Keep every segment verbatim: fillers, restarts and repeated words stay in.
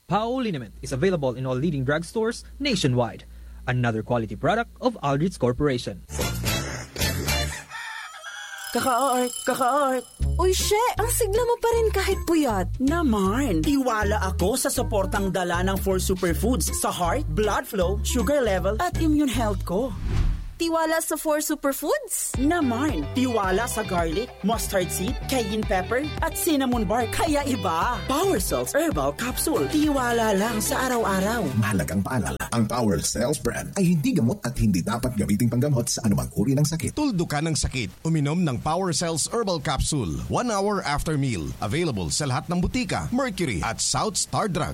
Pao liniment is available in all leading drugstores nationwide. Another quality product of Aldrich Corporation. Kaka-art, kaka-art. Uy, she! Ang sigla mo pa rin kahit puyat. Naman! Tiwala ako sa suportang dala ng four superfoods sa heart, blood flow, sugar level, at immune health ko. Tiwala sa four superfoods? Naman! Tiwala sa garlic, mustard seed, cayenne pepper, at cinnamon bark. Kaya iba! Power Cells Herbal Capsule. Tiwala lang sa araw-araw. Mahalagang paalala, ang Power Cells brand ay hindi gamot at hindi dapat gamiting panggamot sa anumang uri ng sakit. Tuldukan ang sakit. Uminom ng Power Cells Herbal Capsule one hour after meal. Available sa lahat ng butika, Mercury at South Star Drug.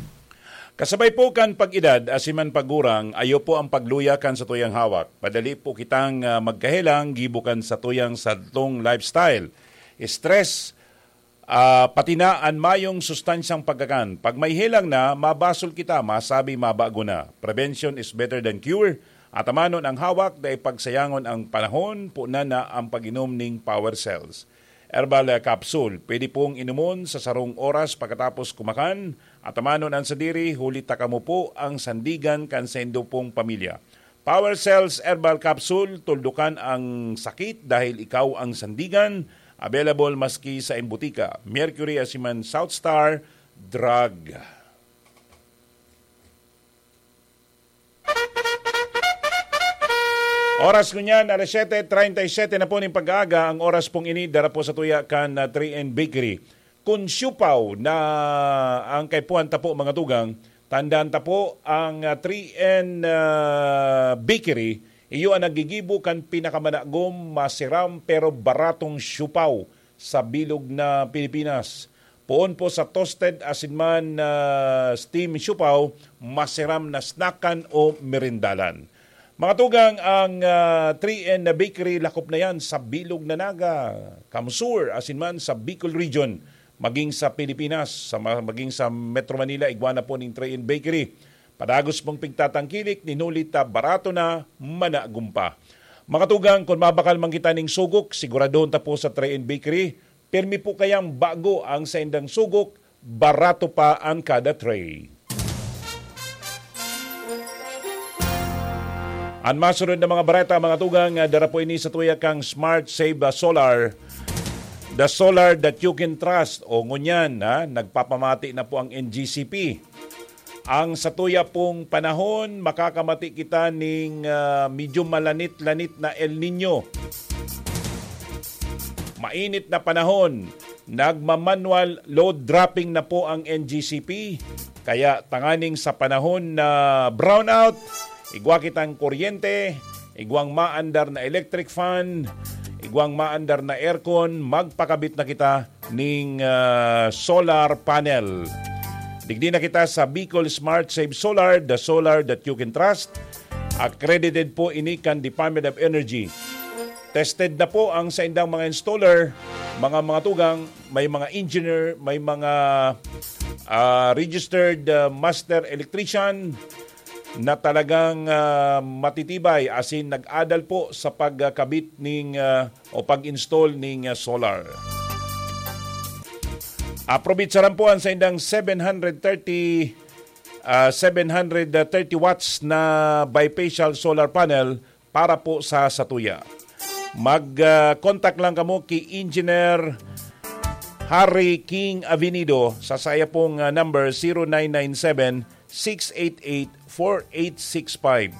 Kasabay po kan pag-edad, asin man pagurang, ayo po ang pagluya kan satuyang hawak. Padali po kitang, ah, magkahelang gibo kan satuyang sadtong lifestyle. Stress, ah, pati na an mayong sustansyang pagkakan. Pag may helang na, mabasol kita, masabi mabago na. Prevention is better than cure. Atamanon ang hawak, dai pagsayangon ang panahon, punan na ang pag-inom ning Power Cells. Herbal, ah, capsule. Pwede pong inumon sa sarong oras pagkatapos kumakan. Atamanon an sadiri, huli ta kamo po ang sandigan kan saindo pong pamilya. Power Cells Herbal Capsule, tuldukan ang sakit dahil ikaw ang sandigan. Available maski sa imbutika, Mercury asin man South Star Drug. Oras ngunyan, alas siyete treinta y siete na po ning pag-aaga. Ang oras pong ini, dara po sa tuya kan, ah, three N Bakery. Kun siupaw na ang kaipuhan ta po, mga tugang, tandaan ta po, ang, ah, three N, ah, Bakery, iyo ang naggigibo kan pinakamanagom, masiram, pero baratong siupaw sa bilog na Pilipinas. Poon po sa toasted asin man, ah, steam siupaw, masiram na snackan o merindalan. Mga tugang, ang, ah, three N na bakery, lakop na yan sa bilog na Naga, Kamsur, asin man sa Bicol Region, maging sa Pilipinas, sa ma-, maging sa Metro Manila, igwa na po ning three N Bakery. Padagos pong pigtatangkilik, nin huli ta barato na, managom pa. Mga tugang, kun mabakal man kita ning sugok, siguradon ta po sa three N Bakery, pirmi po kayang bago ang saindang sugok, barato pa an kada tray. An masunod na mga bareta, mga tugang, ah, dara po ini sa tuya kang Smart Save, ah, Solar. The solar that you can trust. O ngunyan, ha, nagpapamati na po ang N G C P. Ang satuya pong panahon, makakamati kita ning, ah, medyo malanit-lanit na El Nino. Mainit na panahon, nagma-manual load dropping na po ang N G C P. Kaya tanganing sa panahon na brownout, igwa kitang kuryente, igwang maandar na electric fan, igwang maandar na aircon, magpakabit na kita ning, ah, solar panel. Digdi na kita sa Bicol Smart Save Solar, the solar that you can trust. Accredited po ini kan Department of Energy. Tested na po ang saindang mga installer, mga, mga tugang, may mga engineer, may mga, ah, registered, ah, master electrician na talagang, ah, matitibay, asin nag-adal po sa pagkabit ning, ah, o pag-install ning, ah, solar. Aprobitsaran po ang saindang seven hundred thirty, ah, seven hundred thirty watts na bifacial solar panel para po sa satuya. Mag, ah, contact lang kamo ki Engineer Harry King Avenido sa saya pong, ah, number, zero nine nine seven, six eight eight, four eight six five.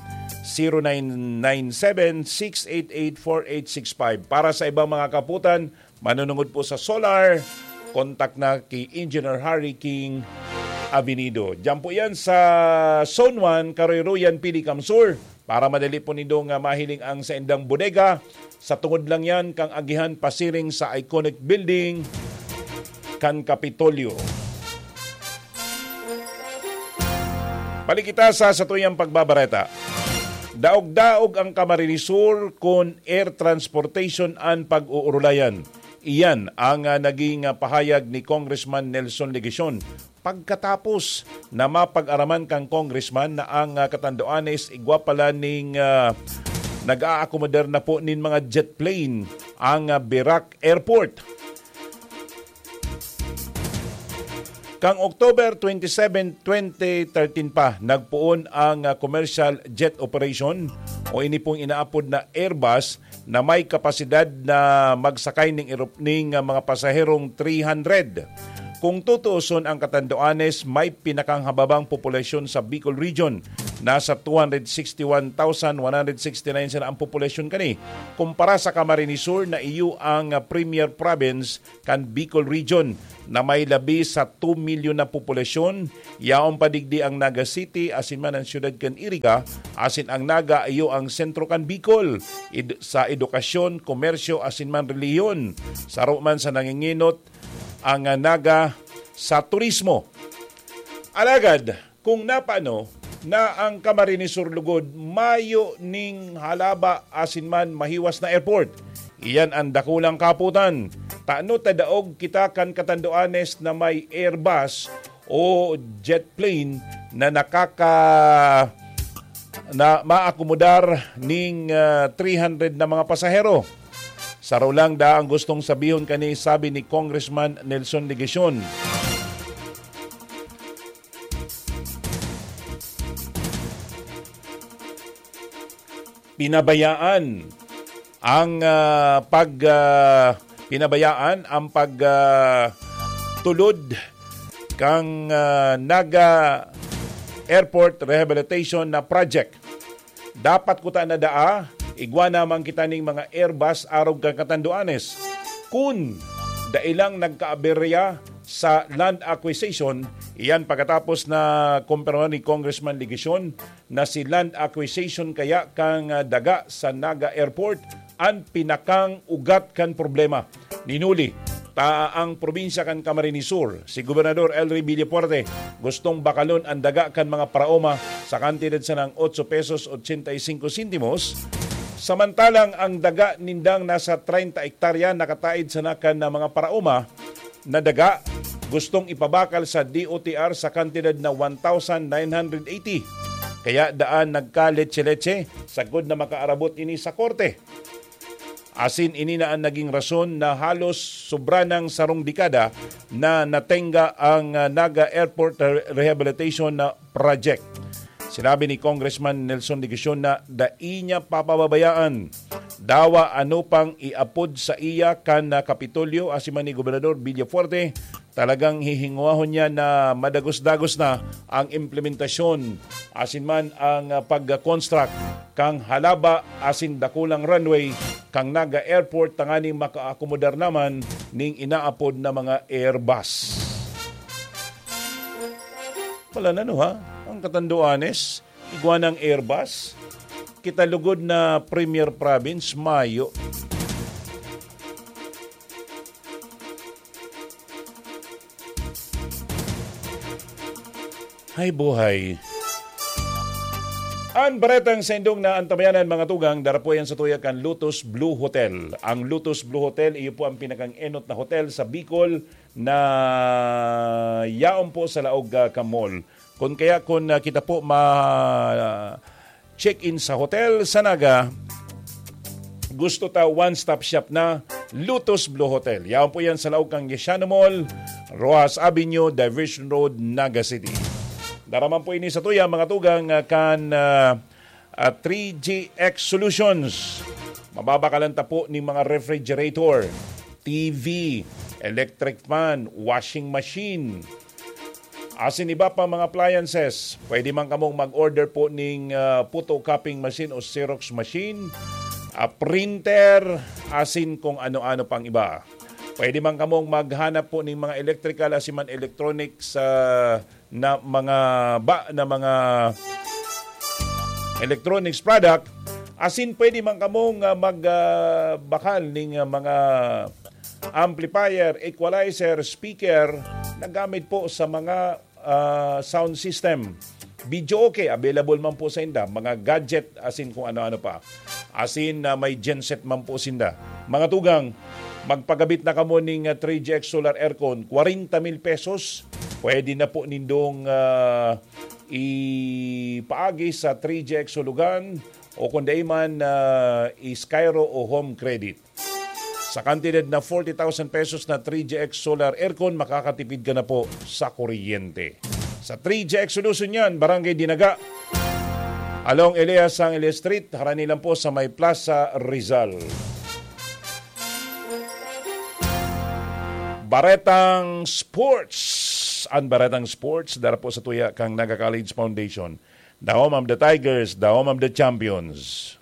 Zero nine nine seven, six eight eight, four eight six five. Para sa ibang mga kaputan, manunungod po sa solar, contact na ki Engineer Harry King Avenido. Diyan po yan sa Zone one, Karoyroyan, Pili, Kamsur. Para madali po nindo nga mahiling ang saindang bodega, sa tungod lang yan kang agihan pasiring sa iconic building kan Kapitolyo. Balik kita sa satuyang pagbabareta. Daog-daog ang Camarines Sur kun air transportation an pag-uurulayan. Iyan ang, ah, naging, ah, pahayag ni Congressman Nelson Legacion pagkatapos na mapag-araman kan congressman na ang, ah, Catanduanes igwa pala ning, ah, nag-aakomodar na po nin mga jet plane ang, ah, Virac Airport. Kang October twenty-seven, twenty thirteen pa, nagpoon ang, ah, commercial jet operation o ini pong inaapod na Airbus na may kapasidad na magsakay ning erop-, ning, ah, mga pasaherong three hundred. Kung tutuuson ang Catanduanes, may pinakanghababang populasyon sa Bicol Region. Nasa two hundred sixty-one thousand one hundred sixty-nine sana ang populasyon kani. Kumpara sa Camarines Sur na iyo ang, ah, premier province kan Bicol Region na may labi sa two milyon na populasyon, yaon pa digdi ang Naga City asin man ang siyudad kan Iriga, asin ang Naga iyo ang sentro kan Bicol ed-, sa edukasyon, komersyo asin man relihiyon. Saro man sa nanginginot ang, ah, Naga sa turismo. Alagad, kung napano na ang Camarines Sur lugod mayo ning halaba asin man mahiwas na airport, iyan an dakulang kaputan. Tano ta daog kita kan Catanduanes na may Airbus o jet plane na nakaka-, na maakomodar ning, ah, three hundred na mga pasahero. Saro lang da ang gustong sabihon kani, sabi ni Congressman Nelson Legacion. Pinabayaan ang, ah, pag, ah, pinabayaan ang pag, ah, tulod kang, ah, Naga Airport Rehabilitation na project. Dapat kuta na daa, igwa naman kita ning mga Airbus arog kan Catanduanes. Kun dai lang nagkaaberya sa land acquisition, iyan pagkatapos na kumpirma ni Congressman Legacion na si land acquisition kaya kan, ah, daga sa Naga Airport an pinakang ugat kan problema. Ninuli ta ang probinsya kan Camarines Sur, si Gobernador Elry Villafuerte, gustong bakalon an daga kan mga paraoma sa kantidad sanang otso pesos ochenta y cinco sentimos, samantalang ang daga nindang nasa treinta hektarya nakataid sana kan mga paraoma na daga gustong ipabakal sa D O T R sa kantidad na one thousand nine hundred eighty. Kaya daan nagkaletse-letse sagkod na makaarabot ini sa korte. Asin ini na an naging rason na halos sobra nang sarong dekada na natenga ang, ah, Naga Airport Re-, Rehabilitation na Project. Sinabi ni Congressman Nelson Legacion na dai niya papababayaan. Dawa ano pang iapod saiya kan, ah, Kapitolyo asin man ni Gobernador Villafuerte, talagang hihingwahon niya na madagos-dagos na ang implementasyon asin man ang, ah, pag-construct kan halaba asin dakulang runway kan Naga Airport tanganing makaakomodar naman ning inaapod na mga Airbus. Wala na, no, ha? Ang Catanduanes, igwa ng Airbus. Kita lugod na Premier Province, mayo. Hay buhay. Ang baretang sa indong na antabayanan, mga tugang, dara po yan sa tuya kan Lotus Blue Hotel. Ang Lotus Blue Hotel, iyo po ang pinakang enot na hotel sa Bicol na yaon po sa laog, ah, ka mall. Kun kaya kun, ah, kita po ma-check-in sa hotel sa Naga, gusto ta one-stop shop na, Lotus Blue Hotel. Yaon po yan sa laog kan Yesiano Mall, Roxas Avenue, Diversion Road, Naga City. Dara man po ini sa tuya, mga tugang, ah, kan, ah, ah, three G X Solutions. Mababakalan ta po ning mga refrigerator, T V, electric fan, washing machine, asin iba pa mga appliances. Pwede man kamong mag-order po ning, ah, photocopying machine o Xerox machine, ah, printer, asin kung ano-ano pang iba. Pwede man kamong maghanap po ning mga electrical asin man electronics, ah, na mga ba, na mga electronics product, asin pwede man kamong, ah, mag, ah, bakal ning, ah, mga amplifier, equalizer, speaker na gamit po sa mga, ah, sound system. Videoke, available man po sa inda, mga gadget, asin kung ano-ano pa. Asin na may genset man po sinda. Mga tugang, magpagabit na kamo ning, ah, three G X solar aircon, kwarenta mil pesos. Pwede na po nindong, ah, ipaagi sa three G X Hulugan o kung dai man, ah, i-Skyro o Home Credit. Sa kantidad na forty thousand pesos na three G X solar aircon, makakatipid ka na po sa kuryente. Sa three G X Solution yan, Barangay Dinaga, along Elias Angeles Street, harani lang po sa may Plaza Rizal. Baretang Sports. Ang Baretang Sports, dara po sa tuya kang Naga College Foundation. The home of the Tigers, the home of the champions.